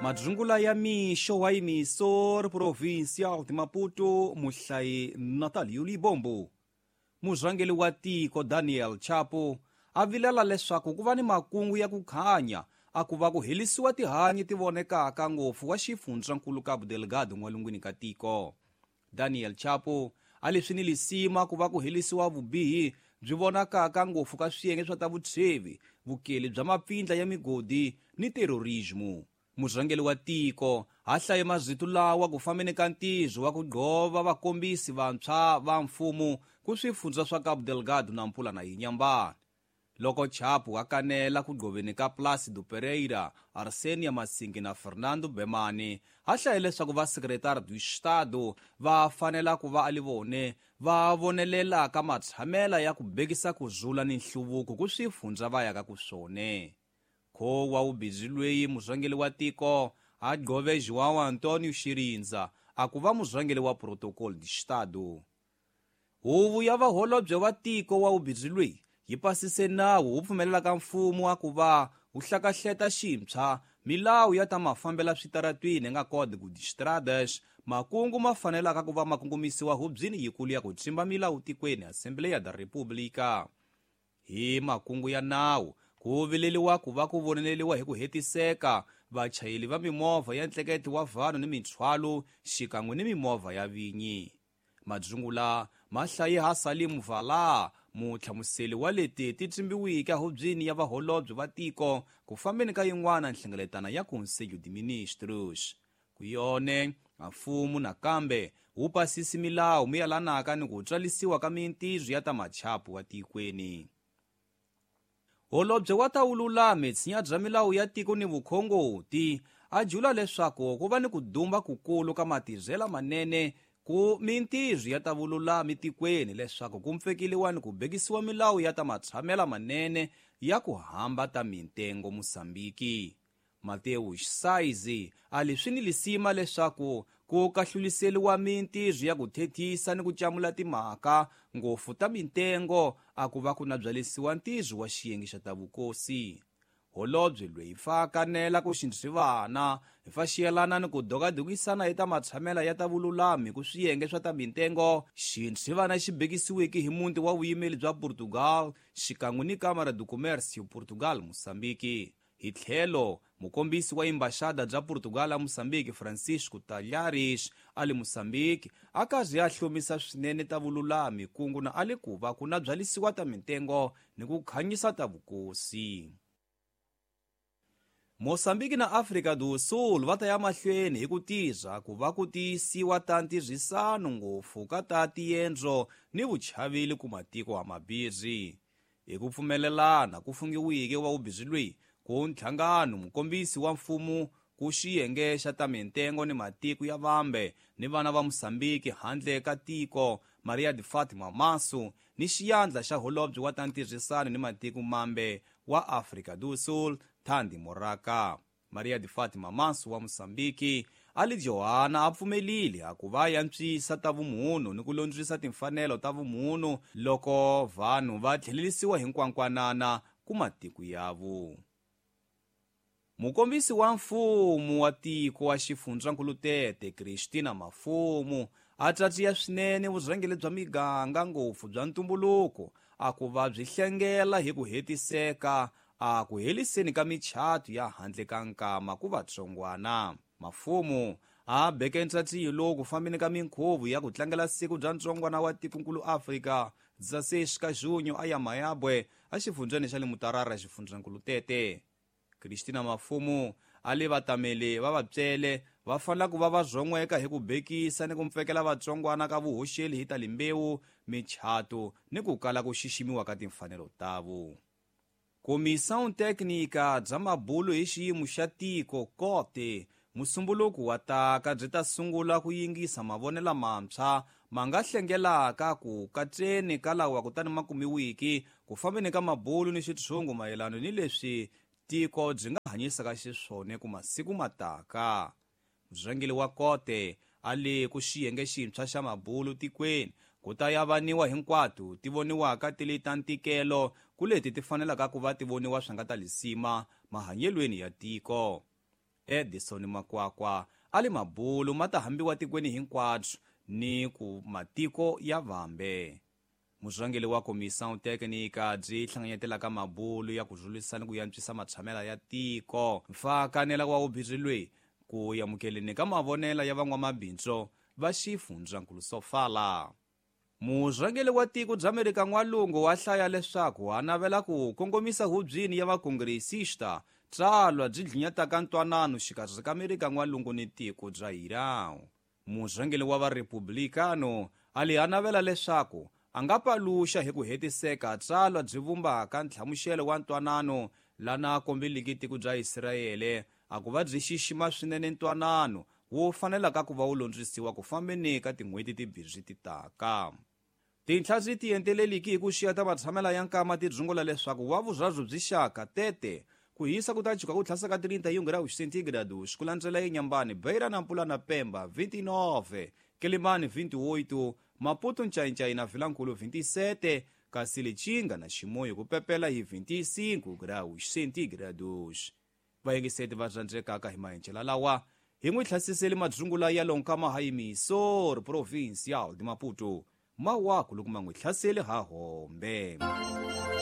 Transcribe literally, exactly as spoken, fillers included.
Madzungula ya mixo wa emissor provincial de Maputo, muhlayi Natalio Libombo. Murhangeri wa tiko Daniel Chapo a vilela leswaku ku va ni makungu ya ku khanya a ku va ku helisiwa tihanyi ti vonekaka ngopfu wa xifundzankulu Cabo Delgado n'walungwini ka tiko. Daniel Chapo a leswi ni lisima ku va ku helisiwa vubihi byi vonakaka ngopfu ka swiyenge swa ta vutshwevi, vukeli bya mapfindla ya migodi ni terrorismo. Murhangeri wa tiko a hlaye mazito lawa ku fambeni ka ntirho wa ku gqova vakombisi vantshwa va mfumo ku swifundza swa Cabo Delgado na Nampula na Inhambane. Loko Chapo a kanela ku gqoveni ka Plácido Pereira, Arsenia Masingi na Fernando Bemani, a hlaye leswaku va secretário do Estado va fanela ku va a li vone va vonelela ka matshamela ya ku bekisa ku zula ni nhluvuko ku swifundza va yaka ku swone. Kho wa ubhizi lweyi murhangeri wa tiko a gqove João Antonio Chirindza a ku va murhangeri wa Protocolo de Estado. Huvo ya vaholobye wa tiko wa ubhizi lweyi yi pasise nawu wu pfumelelaka mfumo wa ku va wu hlakahleta xintshwa milawu ya ta mafambela switaratwini nga Código de Estradas, makungu ma fanelaka ku va ma kongomisiwa hubyini yikulu ya ku tsimba milawu tikweni Assembleia da República. Hi makungu ya nawu ku vileliwa ku va ku voneleliwa hi ku hetiseka vachayeri va mimovha ya ntlekete wa vanhu ni minthwalo xikan'we ni mimovha ya vinyi. Madzungula ma hlaye ha Salim Vala, muhlamuseli wa leti ti tsimbiweke hubyini ya vaholobye va tiko ku fambeni ka yin'wana nhlengeletano ya Conselho de Ministros. Ku yone mfumo nakambe wu pasisi milawu miyalanaka ni ku tswalisiwa ka mintirho ya ta machapu wa tikweni. Holobye wa ta vululami tshinya bya milawu ya tiko ni vukhongoti a jula leswaku ku va ni ku dumba kukulu ka matirhela manene ku mintirho ya ta vululami tikweni leswaku ku mpfekeliwa ni ku bekisiwa milawu ya ta matshamela manene ya ku hamba ta mintengo Mosambiki. Mateus Saizi a leswi ni lisima leswaku ku kahluliseliwa mintirho ya ku thethisa ni ku camula timhaka ngopfu ta mintengo a ku va ku na byalisiwa ntirho wa xiyenge xa ta vukosi. Holobye loyi fa kanela ku xindzivana hi fa xiyelana ni ku dokadokisana hi ta matshamela ya ta vululami ku swiyenge swa ta mintengo xindzivana xi bekisiweke hi muti wa vuyimeli bya Portugal xikan'we ni Câmara do Comércio Portugal Mosambiki. Hi tlhelo mukombisi wa embaxada bya Portugal a Mosambiki Francisco Talhares a le Mosambiki a karhi a hlomisa swinene ta vululami kungu na a le ku va ku na byalisiwa ta mintengo ni ku khanyisa ta vukosi. Mosambiki na Afrika do Sul va ta ya mahlweni hi ku tirha ku va ku tiyisiwa ta ntirhisano ngopfu ka ta tiendzo ni vuchaveli ku matiko a mabirhi. Hi ku pfumelelana ku fungiwike wa ubhizi lweyi ku nhlangano mukombisi wa mfumo ku xiyenge xa ta mintengo ni matiko ya vambe ni vana va Mosambiki handle ka tiko Maria de Fatima Masu ni xiyandla xa holobye wa ta ntirhisano ni matiko mambe wa Afrika do Sul Thandi Moraka. Maria de Fatima Masu wa Mosambiki a li Johanna a pfumelile a ku va yantswisa ta vumunhu ni ku londzisa timfanelo ta vumunhu loko vanhu va tlhelelisiwa hinkwankwanana ku matiko yavo. Mukombisi wa mfumo wa tiko wa xifundzankulu Tete Cristina Mafumo a tsatsiya swinene vurhangeri bya miganga ngopfu bya ntumbuluko a ku va byi hlengela hi ku hetiseka a ku heliseni ka michato ya handle ka nkama ku vatsongwana. Mafumo a beke ntsatsiyo lowu ku fambeni ka minkhuvo ya ku tlangela siku bya ntsongwana wa tikonkulu Afrika dezesseis ka junho a ya Mayabwe a xifundzeni xa le Mutarara xifundzankulu Tete. Cristina Mafumo a le vatameli va vatswele va fanela ku va va zon'weka hi ku bekisa ni ku mpfekela vatsongwana ka vuhoxeli hi ta limbewu, michato ni ku kala ku xiximiwa ka timfanelo tavo. Comissão Técnica bya mabulo hi xiyimo xa tiko kote musumbuluko wa taka byi ta sungula ku yingisa mavonelo mantshwa ma nga hlengelaka ku katseni ka lawa kutani ma kumiwiki ku fambeni ka mabulo ni xitshungu mayelana ni leswi tiko byi nga hanyisaka xiswona ku masiku mataka. Murhangeri wa kote a le ku xiyenge xintshwa xa mabulo tikweni ku ta yavaniwa hinkwato ti voniwaka ti li ta ntikelo ku leti ti fanelaka ku va ti voniwa swi nga ta lisima mahanyelweni ya tiko. Edison Makwakwa a li mabulu ma ta hambiwa tikweni hinkwabyo ni ku matiko ya vambe. Murhangeri wa Comissão Técnica byi hlanganyetelaka mabulu ya ku rhulisa ni ku yantswisa matshamela ya tiko mfakanela wa wubirhi lweyi ku amukeleni ka mavonela ya van'wamabindzu va xifundzankulu Sofala. Murhangeri wa tiko bya Amerika N'walungu wa hlaya leswaku a navela ku kongomisa hubyini ya vakongresista tsalwa byi dlinyataka ntwanano xikarhi ka Amerika N'walungu ni tiko bya Iran. Murhangeri wa varepublikano a li a navela leswaku a nga paluxa hi ku hetiseka tsalwa byi vumbaka ntlhamuxelo wa ntwanano lana kombeliki tiko bya Israyele a ku va byi xixima swinene ntwanano wo fanelaka ku va wu londzisiwa ku fambeni ka tin'hweti timbirhi ti taka. Tinhla byi tienteleliki hi ku xiya ta matshamela ya nkama ti dzungula leswaku wa vurharu byi xaka tete ku hisa ku ta chuka ku tlhasa ka trinta e um graus centígrados ku landzela eNyambani, Beira na Mpula na Pemba vinte e nove, Quelimane vinte e oito, Maputo Ncaincaí na Vilankulu vinte e sete, kasi Lichinga na Chimoio ku pepela hi vinte e cinco graus centígrados. Vayingiseti va rhandzekaka hi maenjela lawa hi n'wi hlasiseli madzungula ya lonkama ha Emissor Provincial de Maputo mawaku loko ma n'wi hlaseli ha hombe.